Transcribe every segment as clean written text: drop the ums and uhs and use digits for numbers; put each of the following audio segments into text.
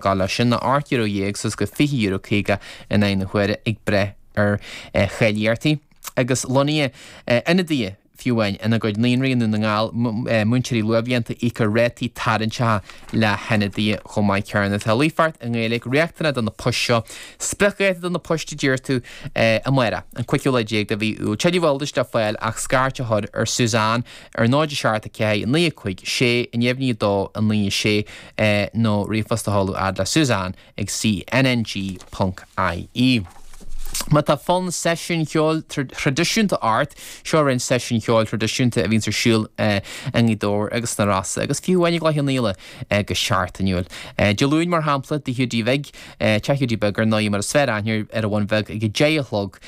Gá leis sin ná €18 suas go €20.50 in aghaidh na huaire ag brath ar cháilíochtaí agus lonnaithe ionadaithe fiú amháin ina gcuid naíonraí i nDún na nGall, múinteoirí luathbhlianta íocfar rátaí tarraingteacha le hionadaithe chomh maith céanna. Tá líofacht i nGaeilge riachtanach do na poist seo. Spriocdháta do na poist a deir tú amárach, an cúigiú lá déag de mhí Iúil. Tuilleadh eolais le fáil ach scairt a chur ar Suzanne ar 0 7 4 9 5 6 9 2 9 6 nó ríomhphost a sheoladh fhad le Suzanne ag cnng ponc ie. Má tá fonn seisiúin cheoil thraidisiúnta ort, seo roinnt seisiúin cheoil thraidisiúnta a bhíonns ar siúl i nGaoth Dobhair agus sna Rosa agus fiú amháin i gCloich Cheann Fhaola go seachtainiúil. Dé Luain mar shampla, Tigh Hiúdaí Bhig, Teach Hiúdaí Beag ar ndóigh mar is fearr aithne air ar an Bhun Bheag ag 10 a chlog,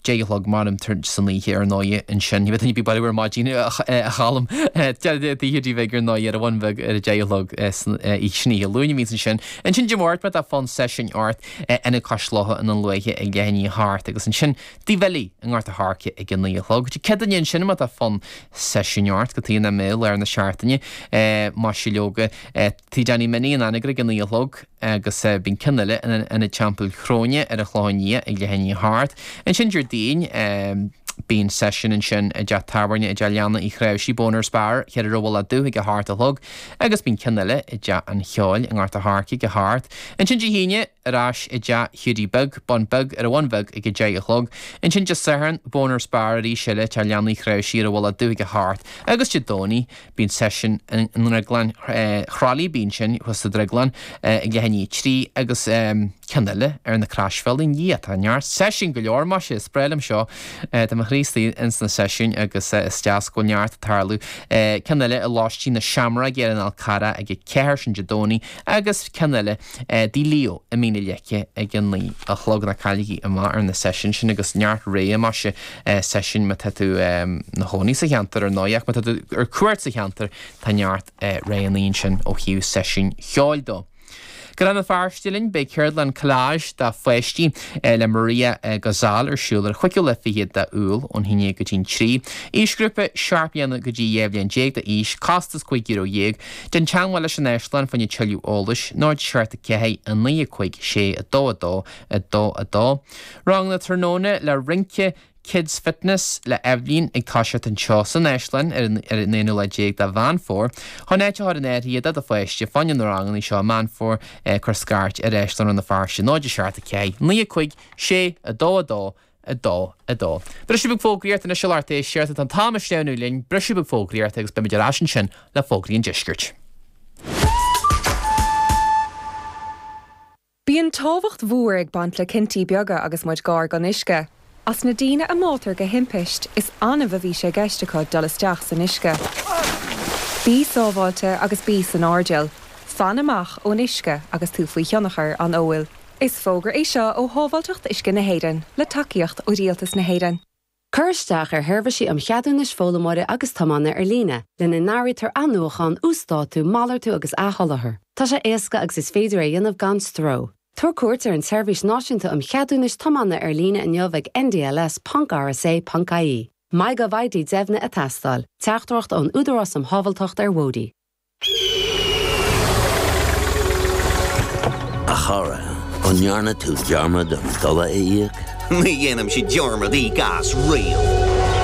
10 a chlog mar san oíche ar ndóigh ansin. Ní bheidh duine ar bith baile ar maidin a Cholm. Tigh Hiúdaí Bhig ar ndóigh ar an Bhun Bheag ar a 10 a chlog san oíche Luain a bhíonns ansin. Ansin Dé Máirt má tá fonn seisiúin ort Ionad Cois Locha i nDún Lúiche ag leath i ndiaidh a hocht agus ansin Tigh Bhilí i nGort a' Choirce ag a 9 a chlog. Dé Céadaoine ansin má tá fonn seisiúin ort go taobh na mé lár na seachtaine. Maise leoga Tigh Danny Minnie in Anagaire ag a 9 a chlog. agus bíonn ceann eile in Ionad Teampaill Chróine ar an Chlochán Liath ag leath i ndiaidh a hocht. Ansin Déardaoin, bíonn seisiún ansin i dteach tábhairne i dTeach Leanna Uí Chnáimhsí, Boners Bar, Cheithre Mhullach Dubh ag a hocht a chlog agus bíonn ceann eile i dTeach an Cheoil i nGort a' Choirce ag a hocht. Ansin Dé hAoine, ar ais i dTeach Hiúdaí Beag, Bun Beag, ar an Bhun Bheag ag a deich a chlog. Ansin Dé Sathairn, Boners Bar arís eile, Teach Leanna Uí Chnáimhsí ar an Mhullach Dubh ag a hocht agus Dé Domhnaigh, Bíonn seisiún i nDrioglann Chroithlí, bíonn sin thuas sa Drioglann ag leath i ndiaidh a trí agus ceann eile ar na Croisbhealaí. A Dhia, tá neart seisiún go leor, maise, is breá liom seo. Tá mo chroí istigh ins na seisiúin agus is deas go bhfuil neart ag tarlú. Ceann eile i Lóistín na Seamróige ar an Fhál Carrach ag a ceathair, sin Dé Domhnaigh, agus ceann eile Tigh Leo i Mín na Leice ag a 9 a chlog. Ná cailligí amach ar na seisiúin sin agus neart rogha maise seisiúin má tá tú ina chónaí sa cheantar ar ndóigh ach má tá tú ar cuairt sa cheantar tá neart roghanna ansin ó thaobh seisiúin cheoil dó. Go Rann na Feirste linn, beidh ceardlann collage do pháistí le Maria Gozal ar siúl ar chúigiú lá fichead de Iúil ón haon déag go dtí'n trí. Aoisghrúpa, 7 bliana go dtí 12 bhliain d'aois, costas €15. Déan teagmháil leis an Áislann fá choinne tuilleadh eolais, 0 7 4 9 5 6 2 2 2 2. Ranganna tráthnóna le rince Kids Fitness le Eibhlín ag toiseacht anseo san Áislann ar an ar an aonú lá déag de Mheán Fómhair. Chun áit a chur in áirithe do do pháiste fá choinne na ranganna seo i Meán Fómhair cuir scairt ar Áislann Rann na Feirste 0 7 4 9 5 6 2 2 2, 2. Briseadh beag fógraíochta anois a lucht éisteachta, tá an t-am ag sleamhnú linn, briseadh beag fógraíochta agus beimid ar ais ansin le fógraí an deiscirt. Bíonn tábhacht mhór ag baint le cinntí beaga agus muid gar don uisce. As na daoine a mbáitear de thimpist, is annamh a bhí sé i gceist acu dul isteach san uisce. Bí sábháilte agus bí san airdeall. Fan amach ón uisce agus tú faoi thionchar an óil. Is fógra é seo ó Shábháilteacht Uisce na hÉireann, le tacaíocht ó Rialtas na hÉireann. Cuir isteach ar sheirbhísí um cheadúnais foghlaimeora agus tiomána ar líne, lena n-áirítear athnuachan, uasdátú, malartú agus athsholáthar. Tá sé éasca agus is féidir é a dhéanamh gan stró. Tabhair cuairt ar an tSeirbhís Náisiúnta um Cheadúnais Tiomána ar líne inniu ag ndls.rsa.ie. MyGovID deimhnithe ag teastáil. Teachtaireacht ón Údarás um Shábháilteacht ar Bhóithre. A chara, an ndearna tú dearmad an dola a íoc? Ní dhéanaimse dearmad íoc as riamh.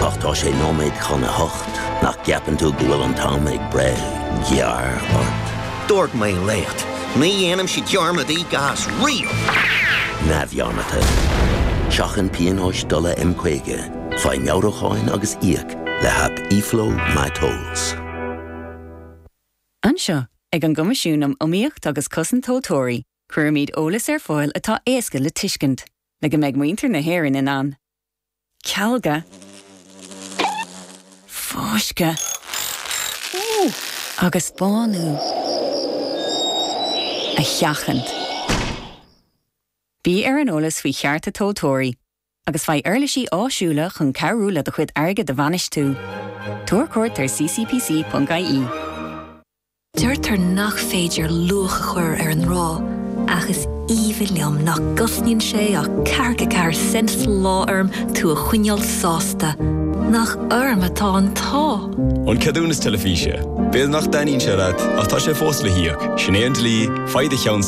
Ach tá sé nóiméad chun a hocht, nach gceapann tú go bhfuil an t-am ag breith gearr ort? Dúirt mé leat, ní dhéanaimse dearmad íoc as riamh! Neamhdhearmadta. Seachain pionóis dola M50, faigh meabhrúcháin agus íoc le haip eFlow MyTolls. Anseo, ag an gCoimisiún um Iomaíocht agus Cosaint Tomhaltóirí, cuirimid eolas ar fáil atá éasca le tuiscint, le go mbeidh muintir na hÉireann in ann cealga, fáisceadh agus bánú a sheachaint. Bí ar an eolas faoi chearta tomhaltóirí. agus faigh uirlisí áisiúla chun cabhrú le do chuid airgid a bhainistiú. Tabhair cuairt ar ccpc.ie. Deirtear nach féidir luach a chur ar an ngrá. Ach is aoibhinn liom nach gcosnaíonn sé ach 44 cent sa lá orm tú a choinneáil sásta. Nach orm atá an t-ádh! An ceadúnas teilifíse. B'fhéidir nach dtaitníonn sé leat, ach tá sé fós le híoc. Sin é an dlí, faigh do cheannsa.